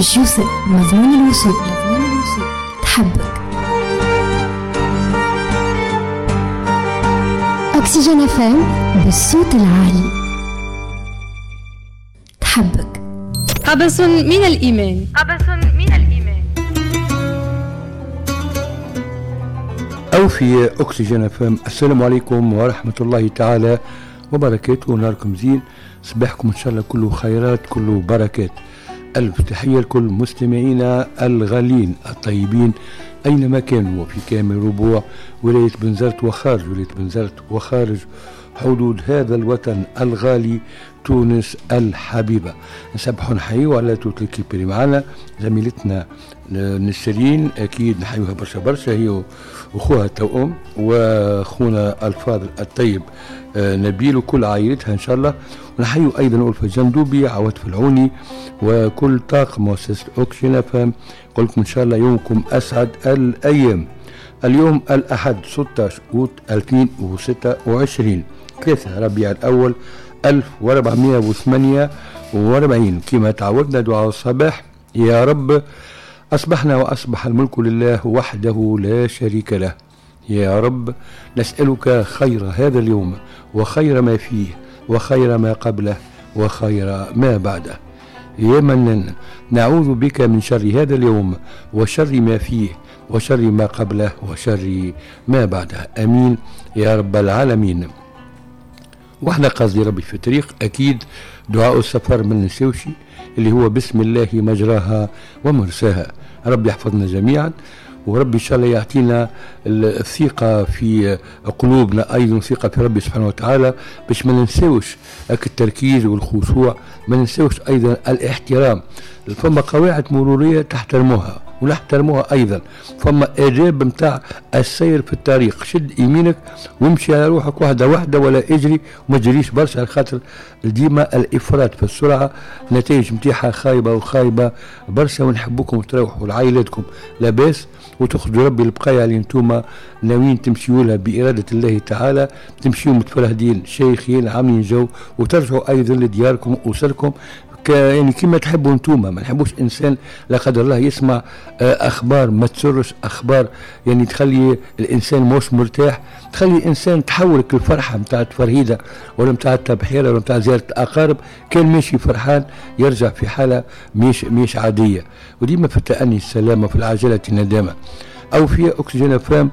باش يوصل مضمون الوصول. تحبك أكسجين FM بالصوت العالي. تحبك. قبس من الإيمان. قبس من الإيمان. أو في أكسجين FM. السلام عليكم ورحمة الله تعالى وبركاته. نهاركم زين، صباحكم إن شاء الله كله خيرات كله بركات. ألف تحية لكل مستمعينا الغالين الطيبين أينما كانوا، وفي كامل ربوع ولاية بنزرت وخارج ولاية بنزرت وخارج حدود هذا الوطن الغالي تونس الحبيبة. نسبحوا نحيوا على toute l'équipe اللي معنا، زميلتنا نسرين أكيد نحيوها برشا برشا، هي وأخوها التوأم وأخونا الفاضل الطيب نبيل وكل عائلتها إن شاء الله. ونحيوا أيضا ألفة جندوبي، عواد العوني، وكل طاقم مؤسسة أوكسجين FM. قلكم إن شاء الله يومكم أسعد الأيام. اليوم الأحد 16 أوت 2026، 3 ربيع الأول 1448. كما تعودنا دعاء الصباح: يا رب أصبحنا وأصبح الملك لله وحده لا شريك له. يا رب نسألك خير هذا اليوم وخير ما فيه وخير ما قبله وخير ما بعده. يا منن نعوذ بك من شر هذا اليوم وشر ما فيه وشر ما قبله وشر ما بعده. أمين يا رب العالمين. واحنا قصدي ربي في الطريق، أكيد دعاء السفر من نسيوشي اللي هو بسم الله مجراها ومرساها. ربي يحفظنا جميعا، وربي إن شاء الله يعطينا الثقة في قلوبنا، أيضا ثقة في ربي سبحانه وتعالى، باش ما ننساوش التركيز والخشوع، ما ننساوش أيضا الاحترام. فما قواعد مرورية تحترموها ونحترموها أيضا، فما آداب متاع السير في الطريق، شد يمينك وامشي على روحك واحدة واحدة ولا اجري وما تجريش برشا، على خاطر ديما الإفراط في السرعة نتائج متاعها خايبة وخايبة برشا. ونحبكم تروحوا لعائلتكم لاباس وتخرجوا ربي البقايا اللي انتوما ناويين تمشيوا لها بإرادة الله تعالى، تمشيوا متفرهدين شيخين عاملين جو، وترجعوا أيضا لدياركم وأسركم يعني كما تحبوا انتوما. ما نحبوش انسان لا قدر الله يسمع اخبار ما تسرش، اخبار يعني تخلي الانسان مش مرتاح، تخلي الانسان تحولك الفرحة نتاع التفرهيده ولا نتاع التبحيره ولا نتاع زيارة الاقارب، كان ماشي فرحان يرجع في حاله مش عادية. وديما في التأني السلامة، في العجلة الندامة. او في اكسجين FM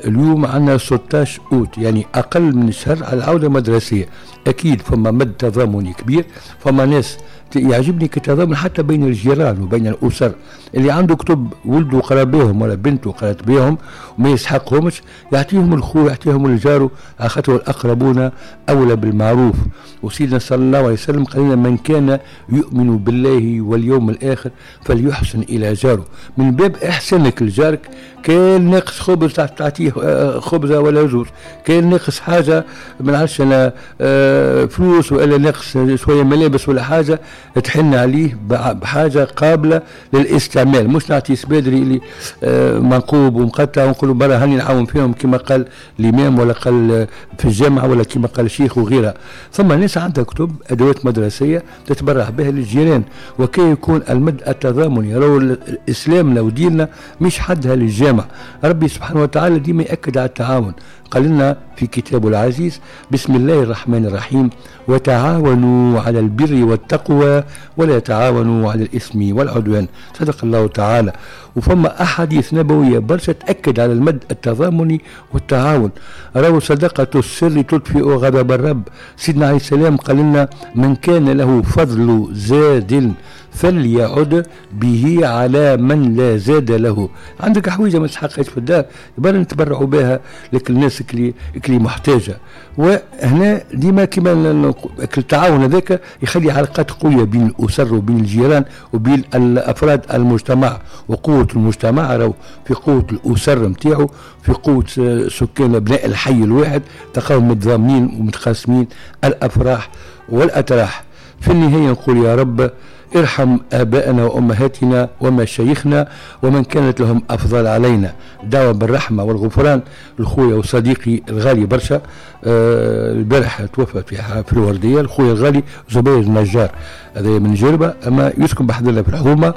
اليوم عندنا 16 اوت، يعني اقل من شهر على العودة المدرسية. اكيد فما مد تضامني كبير، فما ناس يعجبني كتضامن حتى بين الجيران وبين الاسر، اللي عنده كتب ولده قرا بهم ولا بنته قرات بهم وما يسحقهمش يعطيهم الخو يعطيهم الجار، خاطر الاقربون اولى بالمعروف. وسيدنا صلى الله عليه وسلم قال لنا: من كان يؤمن بالله واليوم الاخر فليحسن الى جاره. من باب احسانك لجارك، كان ناقص خبز تعطيه خبزه ولا زوج، كان ناقص حاجة ما نعرفش انا فلوس ولا ناقص شوية ملابس ولا حاجة، تحن عليه بحاجة قابله للاستعمال، مش نعطي سبادري اللي منقوب ومقطع ونقولوا برا هاني نعاون فيهم كما قال الامام ولا قال في الجامعة ولا كما قال الشيخ وغيرها. ثم ناس عندها كتب ادوات مدرسيه تتبرع بها للجيران، وكي يكون المد التضامني. راهو الاسلام لو ديننا مش حدها للجامع، ربي سبحانه وتعالى ديما يأكد على التعاون. قال لنا في كتابه العزيز: بسم الله الرحمن الرحيم، وتعاونوا على البر والتقوى ولا تعاونوا على الإثم والعدوان. صدق الله تعالى. وفما أحاديث نبوية برشا تأكد على المد التضامني والتعاون. راهو صدقة السر تطفئ غضب الرب. سيدنا عليه السلام قال لنا: من كان له فضل زاد فليعد به على من لا زاد له. عندك حويجة ما تسحقهاش في الدار، يبقى نتبرعوا بها لك الناس اللي محتاجة. وهنا ديما كما التعاون هذاك يخلي علاقات قوية بين الأسر وبين الجيران وبين الأفراد المجتمع، وقوة المجتمع راهو في قوة الأسر نتاعو، في قوة سكان أبناء الحي الواحد، تلقاهم متضامنين ومتقاسمين الأفراح والأتراح. في النهاية نقول يا رب ارحم آباءنا وأمهاتنا ومشايخنا ومن كانت لهم أفضل علينا. دعوة بالرحمة والغفران لخويا وصديقي الغالي برشا، البارح توفى في الوردية، الخويا الغالي زبير النجار، هذا من جربة أما يسكن بحذنا في الحومة.